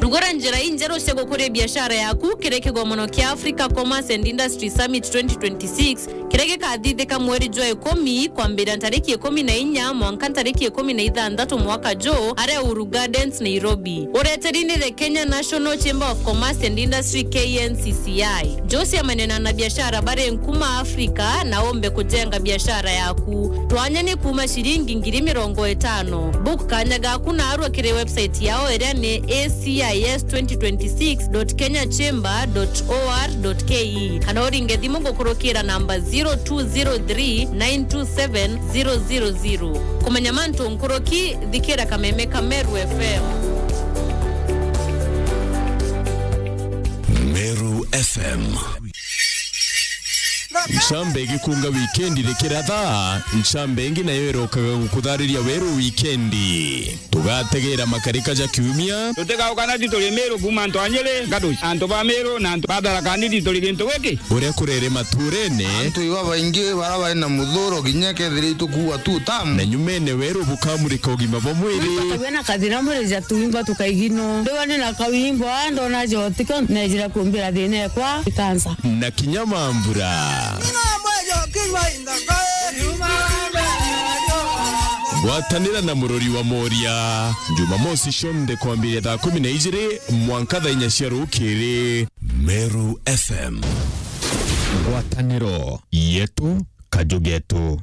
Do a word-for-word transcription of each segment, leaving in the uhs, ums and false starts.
Gura njira injeru cia gukuria biashara yaku kiri kigomono kia Africa Commerce and Industry Summit twenty twenty-six, kiria gikathithika mweri jwa ikumi kwambiria ntariki ikumi na inya mwanka ntariki ikumi na ithanthatu mwaka juu, aria Uhuru Gardens, Nairobi. Ureteri ni the Kenya National Chamber of Commerce and Industry, K N C C I. Njuu ciamania na anabiashara bari nkuma Afrika na umbe kujenga biashara yaku. Twanya ni kuuma ciringi ngiri mirongo itano. Book kanya gaku naarua kiri website yao iria ni A C I S twenty twenty-six dot kenya chamber dot O R dot K E, kana uringe thimu gukurukira namba zero two zero three nine two seven zero zero zero. Kumenya mantu nkuruki, thikira kameme ka Meru F M. Meru F M. Ncambe igikunga wikendi rikiratha, ncambe ingi nayo irokaga gukuthariria weru wikendi. Tugategera makarika ja kiumia. Tutigauka na tituri Meru kuuma antu a Nyeri, Gaduci, antu ba Meru na antu ba Tharaka Nithi turi gintu giki. Uria kurere maturene. Antu iba baingi bara bari na muthuro kinya kethira itukuua tu tamu. Na nyumene weru bukamurika ugima bwa mwiri. Twina kathina mwiri ja tuimba tukaigino. Ndiwa ni na kawimbo, ah, ndona jotiko, nejira kumbira thina ekwa, ikansa. Na kinya mambura. Gwatanira na murori wa Moria, Jumamosi cionthe kwambiria thaa kumi na ijiri mwanka thaa inya cia rukiri. Meru F M. Ngwataniro yetu, kaju getu.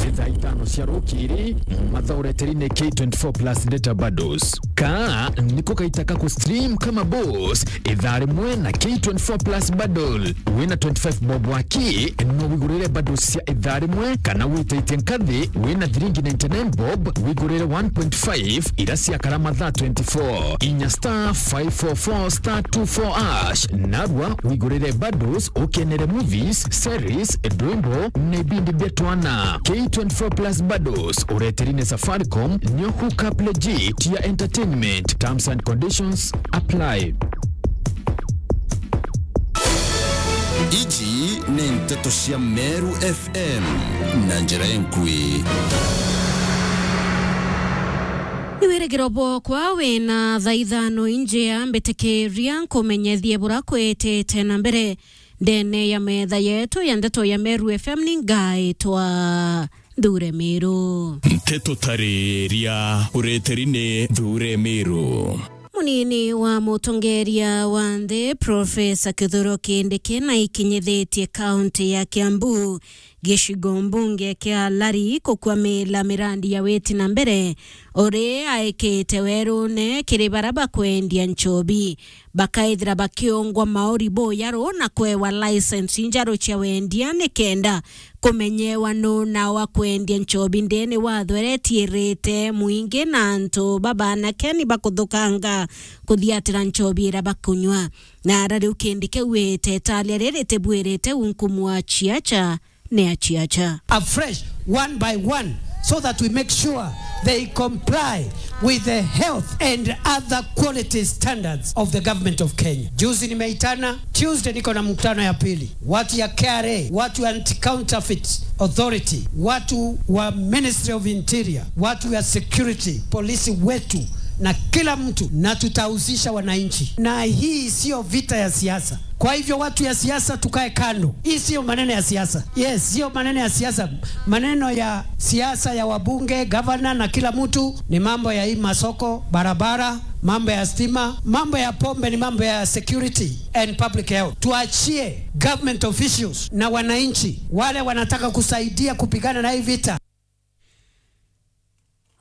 Ni thaa itano cia rukiri, matha ureteri ni K twenty-four plus data bundles. Ka niko kaita ka ku stream kama boss, ithaa rimwe na K twenty-four plus bundle. Wina twenty-five bob waki, no wigurire bundles cia ithaa rimwe, kana witaitie nkathi, wina thiringi ninety-nine bob, wigurire one point five ira ciakara mathaa twenty-four. Inya star five four four star two four hash, narua wigurire bundles, ukenere movies, series, ndwimbo, na ibindi bia twana. K twenty-four plus bundles, ureteri ni Safaricom, nio hookup legit ya entertainment. Terms and conditions apply. Iji ni nteto cia Meru F M na njira inkui. Ni wirigiro bwokwa wina thaa ithano injia, mbitikiria nkumenyethie bura kwitite na mbere ndene ya metha yetu ya ndeto ya Meru F M. Ni ngaitwa Nthure Miru. Nteto tariria ureteri ni Nthure Miru. Munini wa mutongeria wa nthi, Profesa Kithure Kindiki, naikinyithitie kaunti ya Kiambu, gicigo mbunge kia Lari, kukwamila mirandi ya witi na mbere, uri aikite werune kiri bara bakwendia nchobi, bakaithira bakiongwa mauri buyaru na kwewa license injaru cia wendia, nikenda kumenyewa nu na wa kwendia nchobi ndene wa thwere etiirite mwingi na antu babanake ni bakuthukanga kuthiatira nchobi ira bakunywa. Na ara riu kindi kiu wite italia riri tibwirite unkumwa chiacha ni achiacha. Afresh, one by one, so that we make sure they comply with the health and other quality standards of the government of Kenya. Juzi nimeitana, Tuesday niko na mkutano ya pili. Watu ya K R A, watu ya Anti-Counterfeit Authority, watu wa Ministry of Interior, watu ya security, polisi wetu na kila mtu, na tutahusisha wananchi. Na hii sio vita ya siasa. Kwa hivyo watu ya siasa tukae kando. Hii sio maneno ya siasa. Yes, sio maneno ya siasa. Maneno ya siasa ya wabunge, gavana na kila mtu ni mambo ya hii masoko, barabara, mambo ya stima, mambo ya pombe ni mambo ya security and public health. Tuachie government officials na wananchi wale wanataka kusaidia kupigana na hii vita.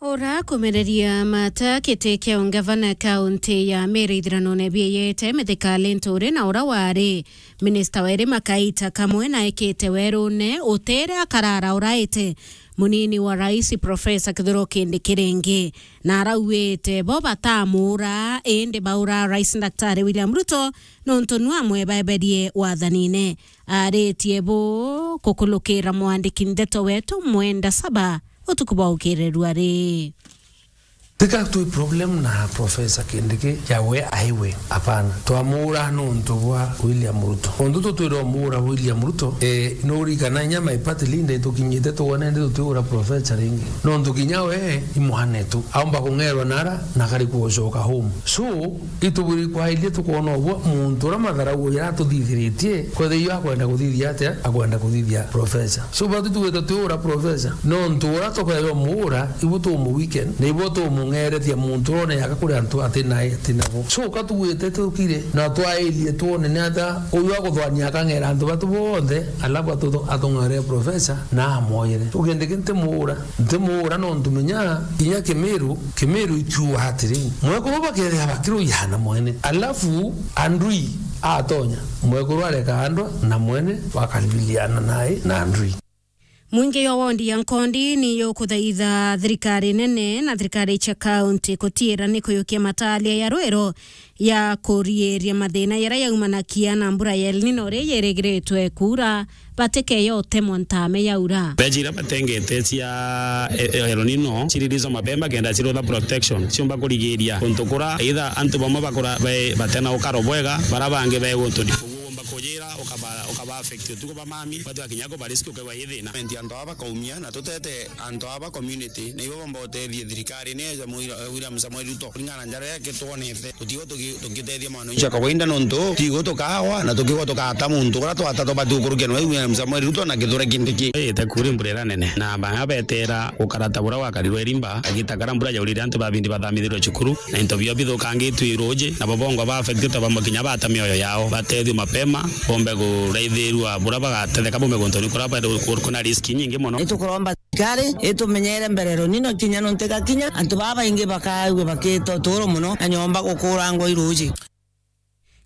Ura kumereria mata kiti kia ungavana kaunti ya Meru ithiranone bieyete Mithika Linturi na ura wari minista weri makaita kamwe na ekite werune utere akarara uraite munini wa rais Profesa Kithure Kindiki ringi, na arauite bo batamura indi baura rais Daktari William Ruto nontu nu amwebeberie wathanine. Aritie bu kukulukira mwandiki ndeto wetu Mwenda Saba utuku bwa ukirirua ri. Tika twi problem na Professor Kindiki ya we aiwe. Hapana. Twamuura nontu bwa William Ruto. Untu tutwira umuura William Ruto, eh, nurikana inya my party leader itukinyite tuone ndi tutiura Professor ringi. Nontu kinya we i mwanetu. Aumba kung'erwa nara na kari kucoka home. So, ituburi kwairie tukona uguo muntu ura matharau uyu aratuthithiritie, kwethira iyo akwenda kuthithia atia, akwenda kuthithia Professor. So, batu twita twiura Professor. Nontu ura tukeyo muura, ibu tumu weekend, na ibu tumung'eretia muntu ura uneaga kuri antu ati nai, ati nabo. So, ka tugwite tukire, na twairie tuone ni ata uyu aguthwania akang'era antu batu bonthe, alafu atu-, atung'ere Professor, na amwoyere. Ugende ki ntimuura, ntimuura nontu menya, kinya Kimiru, Kimiru ikiuga atiri, mwekuru bakethira bakiruyana mwene. Alafu Andui atonya, mwekuru areka andwa na mwene bakaribiliana nae na Andui. Mwingi yo wondi ya Nkondi ni yukuthaitha thirikari nene na thirikari cia kaunti kutiira ni kuyukia matalia ya rwiro ya kuriiria mathina yaria yaumanakia na mbura ya El Nino iria yirigiritwe kuura, batikeyo utemwa ntame yaura. Mbeca iria batengete cia, e, e, El Nino, ciririzo mapema kenda cirutha protection, ciumba kurigiria kuntu kura, either antu bamwe bakura be-, batena ukaro bwega, bara bangi be guntu ndi. Kuumba kujira, ukaba, ukaba affect utuku ba mami, batu akinya ku bariski ukegwa i thina. Antu aba bakaumia, na tutete antu aba community, na ibo bomba utethie thirikari, ni eja Mwira-, William Samoei Ruto, kuringana na njara yake twonete. Tutigo tugi-, tugitethia mwana ucio kawaida nontu, tigo tukawa na tukigo tukata muntu uria twata tubati gukurukia nwe William Samoei Ruto na Kithure Kindiki. Ite kuri mbura iria nene, na baa betera gukarata buria gwakarirwe Irimba, agita kara mbura yaurire antu babindi bathamithirwe cukuru, na into bio bithukangitwe i ruuji, na bo bongwa ba affected bamwe kinya bata mioyo yao, batethio mapema, bombe kuraithirua buria bagatetheka bombe guntu ni kuria bari ku-, kuna risk nyingi mono. Itukuromba thirikari itumenyere mbere El Nino kinya nontu igakinya, antu baa baingi bakaigua bakita uturo mono na nyomba gukurangwa i ruuji.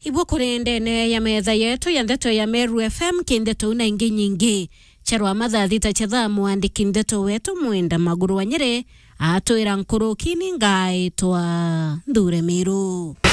Ibu kuri ndene ya metha yetu ya ndeto ya Meru F M, ki ndeto na ingi nyingi. Charwa mathaa thita cha thaa, mwandiki ndeto wetu Mwenda Maguru wa Nyeri atwira nkuruki ni ngaitwa Nthure Miru.